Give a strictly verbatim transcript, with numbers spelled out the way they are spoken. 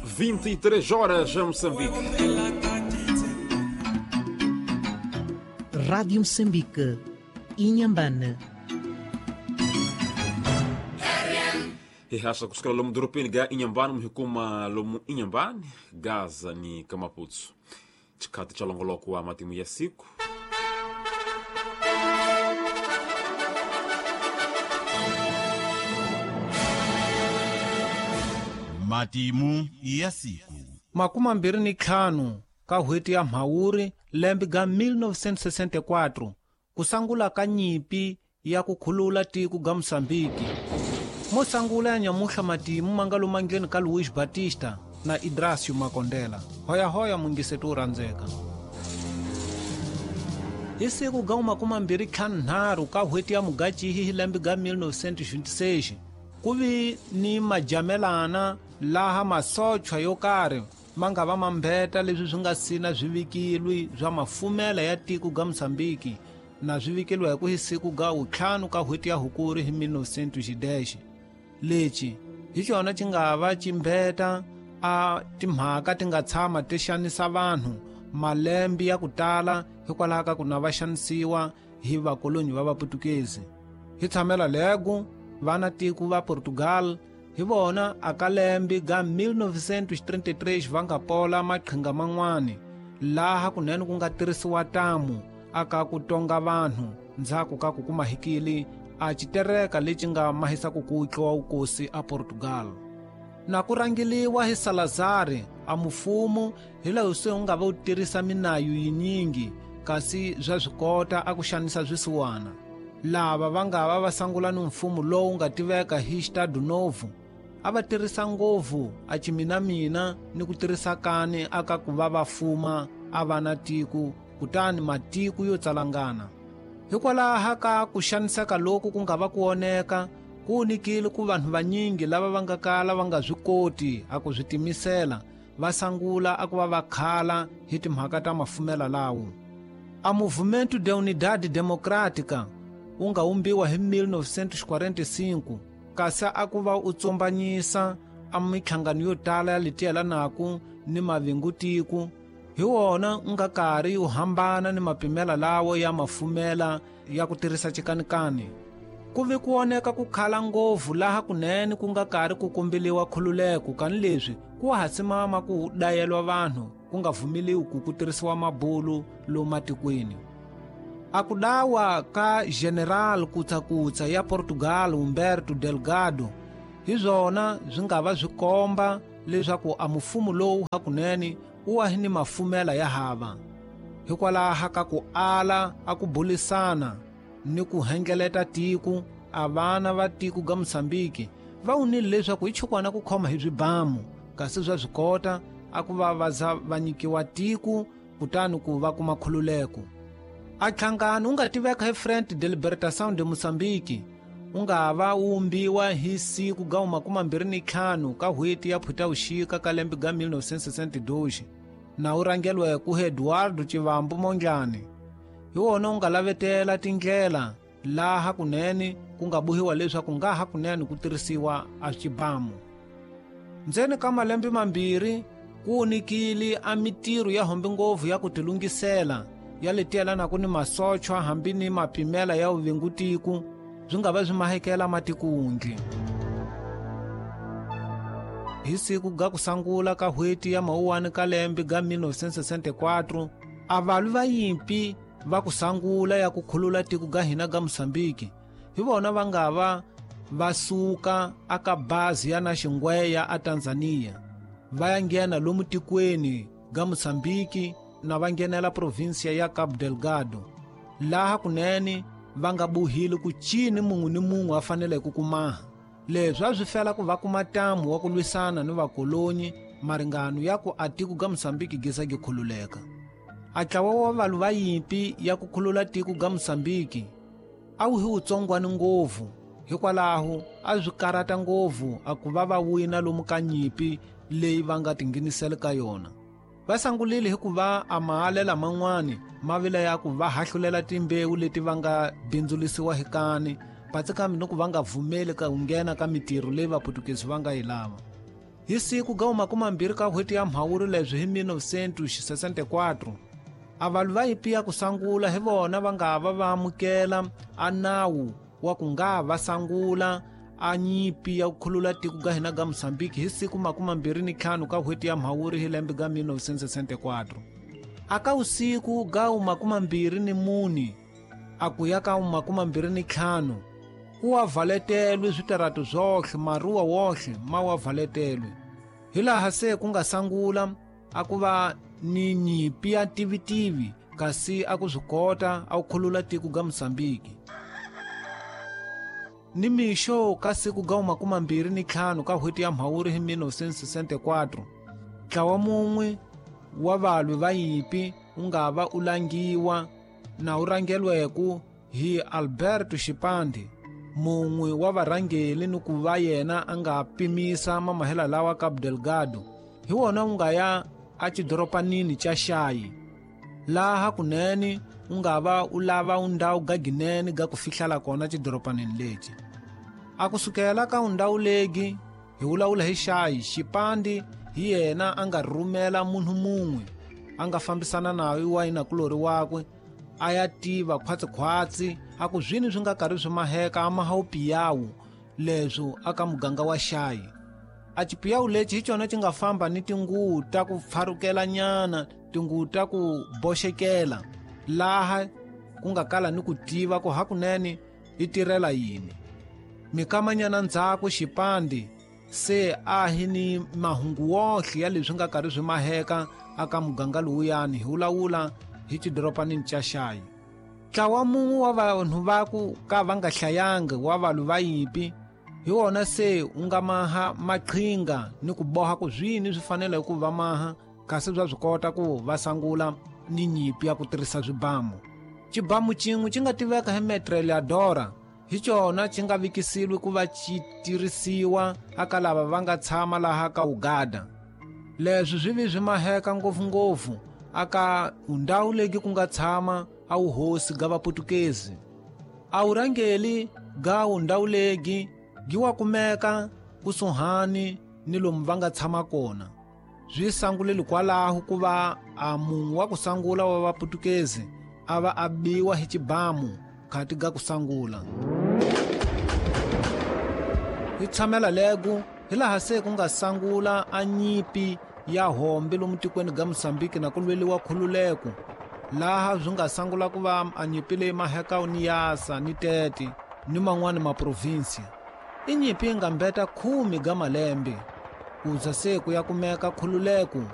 vinte e três horas em Moçambique. Rádio Moçambique, Inhambane. E hasa kusikala lomu doropeni ga Inhambane, muhikuma lomu Inhambane, Gaza ni Kamaputu. Chikati cha longoloko wa matimu ya siku. Matimu ya siku. Makumi mbirhi ni ntlhanu ka n'hweti ya Mhawuri lembe ga mil novecentos e sessenta e quatro kusangula ka nyimpi ya ku khulula tiko ga Moçambique. Mo sangula ya nyamuhla matimu ma nga lumangeni ka Luiz Batista na Idracio Makondela. Hoya-hoya mungiseti wu rhandzeka. Hi siku ga makumi mbirhi ntlhanu nharhu ka n'hweti ya Mugachihi hi lembe ga mil novecentos e vinte e seis ku vi ni majamelana laha masochwa yo karhi ma nga va mambeta leswi swi nga sina swivikilwi swa mafumela ya tiko ga Moçambique na swi vikeliwa hi ku hi siku ga wuntlhanu ka n'hweti ya Hukuri hi mil novecentos e dez. Lexi hi xona xi nga va ximbeta a timhaka ti nga tshama ti xanisa vanhu malembe ya ku tala hikwalaho ka ku na va xanisiwa hi vakolonyi va Vaputukezi. Hi tshamela lego vana tiko va Portugal hi vona aka lembe ga mil novecentos e trinta e três va nga pola maqhinga man'wani laha kunene ku nga tirhisiwa tamu aka ku tonga vanhu ndzhaku ka ku kuma hikili a xitereka lexi nga mahisa ku kutliwa wukosi a Portugal. Na ku rangeliwa hi Salazar a mufumo hi laha se wu nga va wu tirhisa minayu yinyingi kasi swa swi kota a ku xanisa swisiwana. Lava va nga va va sangula ni mfumo lowu nga tiveka hi Estado Novo a va tirhisa ngopfu a chiminamina ni ku tirhisa kani aka ku va va fuma a va na tiko kutani matiko yo tsalangana. Hikwalaho ka ku xaniseka loku ku nga va ku oneka ku nikile ku vanhu vanyingi lava va nga kala va nga swi koti a ku swi timisela va sangula a ku va va khala hi timhaka ta mafumela lawo. A Movimento de Unidade Democrática wu nga umbiwa hi mil novecentos e quarenta e cinco kasi a ku va u tsombanyisa a minhlangano yo tala ya leti yelanaka ni mavingutiko hi wona u nga karhi wu hambana ni mapimela lawo ya mafumela ya ku tirhisa chikanikani. Ku vi ku oneka ku khala ngopfu laha kunene ku nga karhi ku kombeliwa khululeko kani leswi ku hasimama ku dayelwa vanhu ku nga vumeliwi ku ku tirhisiwa mabulu lomu matikweni. A ku dawa ka General Kutsakutsa ya Portugal Humberto Delgado hi swona swi nga va swi komba leswaku a mufumo lowu hakunene wu wa ni mafumela ya hava. Hikwalaho ka ku ala a ku bulisana ni ku hengeleta tiko a vana va tiko ga Moçambique va wunile leswaku hi chukwana ku khoma hi swibamu kasi swa swi kota a ku va va za va nyikiwa tiko kutani ku va kuma khululeko. A nhlangano wu nga tiveka hi Frente de Libertação de Moçambique wu nga va wu umbiwa hi siku ga makumi mbirhi ni ntlhanu ka n'hweti ya Phutavuxika ka lembe ga mil novecentos e sessenta e dois na wu rhangeliwe ku Eduardo Chivambo Mondlane. Hi wona wu nga lavetela tindlela laha kunene ku nga bohiwa leswaku nga ha kunene ku tirhisiwa a xibamu. Ndzeni ka malembe mambirhi ku nikile a mitirho ya hombe ngopfu ya ku tilungisela ya leti yelanaka ni masochwa hambi ni mapimela ya vuvingutiko swi nga va swi mahekela matikundli. Hi siku ga ku sangula ka n'hweti ya Mawuwani ka lembe ga mil novecentos e sessenta e quatro a valwi va yimpi va ku sangula ya ku khulula tiko ga hina ga Moçambique hi vona va nga va va suka aka bazi ya na Xingweya a Tanzania va ya nghena lomu tikweni ga Moçambique na va nghenela provinsia ya Cabo Delgado laha kunene va nga buhile ku cini mun'we ni mun'we a faneleke ku kumaha. Leswi a swi fela ku va kuma ntamu wa ku lwisana ni vakolonyi maringano ya ku a tiko ga Moçambique gisa gi khululeka. A ntlawa wa valwi va yimpi ya ku khulula tiko ga Moçambique a wu hi wutsongwani ngopfu hikwalaho a swi karata ngopfu a ku va va wina lomu ka nyimpi leyi va nga tinghenisela ka yona. Va sangulile hikuva a mahalela man'wani ma vile ya ku va hahlulela timbewu leti va nga bindzulisiwa hi kani patsi kambe ni ku va nga vumeli ka ku nghena ka mitirho leyi Vaputukezi va nga yi lava. Hi siku ga makumi mbirhi ka n'hweti ya Mhawuri leswi hi mil novecentos sessenta e quatro a valwi va yipi ya ku sangula hi vona va nga va va amukela a nawu wa ku nga va sangula a nyipi ya ku khulula tiko ga hina ga Mozambique hi siku makumi mbirhi ni ntlhanu ka n'hweti ya Mhawuri hi lembe ga mil novecentos sessenta e quatro. Aka usiku ga makumi mbirhi ni mune a ku ya ka makumi mbirhi ni ntlhanu ku wa valetelwe switarato swohle maruwa wohle ma wa valetelwe. Hilaha se ku nga sangula a ku va ni nyipi ya tivitivi kasi a ku swi kota a ku khulula tiko ga Mozambique. Ni mixo ka siku ga makumi mbirhi ni ntlhanu ka n'hweti ya Mhawuri hi mil novecentos sessenta e quatro ntlawa mun'we wa valwi va yipi wu nga va u langiwa na wu rhangelweku hi Alberto Xipande, mun'we wa varhangeli ni ku va yena a nga pimisa mamahela lawa Cabo Delgado. Hi wona wu nga ya a xidoropanini xa Xayi, laha kunene wu nga va u lava undhawu ga ginene ga ku fihlala kona xidoropanini lexi. A kusukela ka undhawu legi hi vulavula hi Xayi, Xipande hi yena a nga rhumela munhu mun'we a nga fambisana naye wa yinakulori wakwe a ya tiva khwatsikhwatsi a ku zwini swi nga karhi swi maheka a maha upiyawu leswo aka muganga wa Xayi. A xipiyawu lexi hi xona xi nga famba ni tinguvu ta ku pfarukela nyana, tinguvu ta ku boxekela, laha ku nga kala ni ku tiva ku hakunene yi tirhela yini. Mikamanyana ndzhaku Xipande se a hi ni mahungu wohle ya leswi nga karhi swi maheka aka muganga lowuyani hi vulavula hi xidoropanini xa Xayi. Ntlawa mun'we wa vanhu va ku ka va nga hlayanga wa valwi va yipi hi wona se wu nga maha maqhinga ni ku boha ku zwini swi fanele ku va maha kasi bya swi kota ku va sangula ni nyipi ya ku tirhisa swibamu. Xibamu xin'we xi nga tiveka hi metralhadora hi xona xi nga vikisiwi ku va xi tirhisiwa aka lava va nga tshama laha ka Uganda. Leswi swi vi swi maheka ngopfungopfu aka undhawu legi ku nga tshama a wuhosi ga vaputukezi. A wurhangeli ga undhawu legi gi wa kumeka kusuhani ni lomu va nga tshama kona. Swi sanguleli kwalaho ku va a munhu wa ku sangula wa vaputukezi a va a biwa hi xibamu khati ga ku sangula. Hi tshamela legu hi laha se ku nga sangula a nyipi ya hombe lomu tikweni ga Mozambique na ku lweliwa khululeko, laha swi nga sangula ku va a nyipi leyi maheka ni Yasa ni Tete ni man'wani maprovinsia. I nyipi yi nga mbeta khume ga malembe ku za se ku ya kumeka khululeko